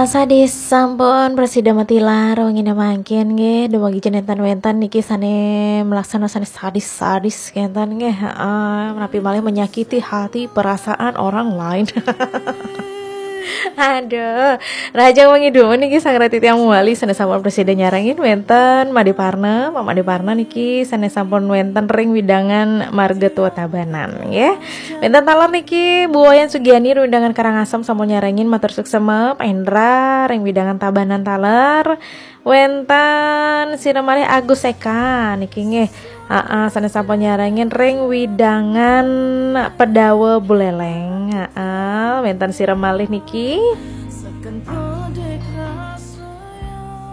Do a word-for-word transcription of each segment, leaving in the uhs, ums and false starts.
Sadis sampun prasida matilar wengi mangkin nggih, dumugi jenengan wénten niki sané melaksana sané sadis-sadis kénten nggih, heeh, menawi malih menyakiti hati perasaan orang lain. Aduh, rahajeng wengi dumun niki sareng titiang malih sané sampun prasida nyarengin wénten Madé Parna, Pak Madé Parna niki sané sampun wénten ring wewidangan Marga Tua Tabanan nggih. Wénten taler niki Bu Wayan Sugiani ring wewidangan Karangasem sampun nyarengin matur suksma, Pak Hendra ring wewidangan Tabanan taler. Wénten sira malih Agus Eka niki nggih. Heeh, sané sampun nyarengin ring wewidangan Pedawa Buleleng. Heeh, wénten sira malih niki.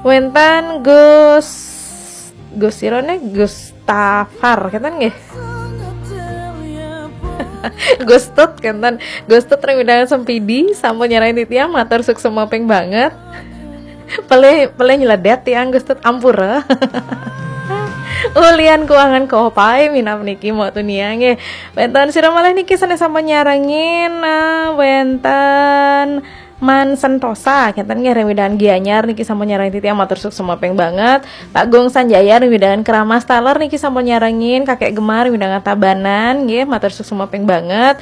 Wénten Gus Gus sira né Gus Tafar kénten nggih. Gus Tut kénten. Gus Tut ring wewidangan Sempidi sampun nyarengin titiang matur suksma ping banget. Pelih pelih nyeledet tiang Gus Tut, ampura. Ulian kuangan kopai minab niki mau tunia nggih. Wénten sira malih niki sané sampun nyarengin, eh, wénten Man Sentosa, kénten nggih ring wewidangan Gianyar niki sampun nyarengin titiang matur suksma ping banget. Pak Gung Sanjaya ring wewidangan Keramas taler niki sampun nyarengin, Kakek Gemar ring wewidangan Tabanan nggih matur suksma ping banget.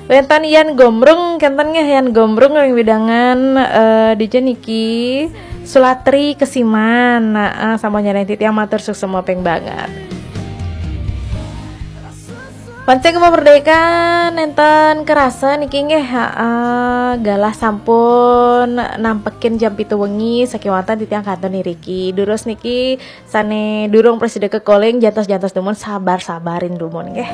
Wénten Yan Gombrung, kénten nggih Yan Gombrung ring wewidangan, eh, dija niki Sulatri Kesiman. Nah, eh, sampun nyarengin titiang matur suksma ping banget. Pancing Merdeka nénten kerasa niki nggih, heeh, galah sampun nampekin jam pitu wengi sakéwanten titiang kantun iriki. Durus niki sané durung prasida kekalih jantos-jantos dumun sabar-sabarin dumun nggih.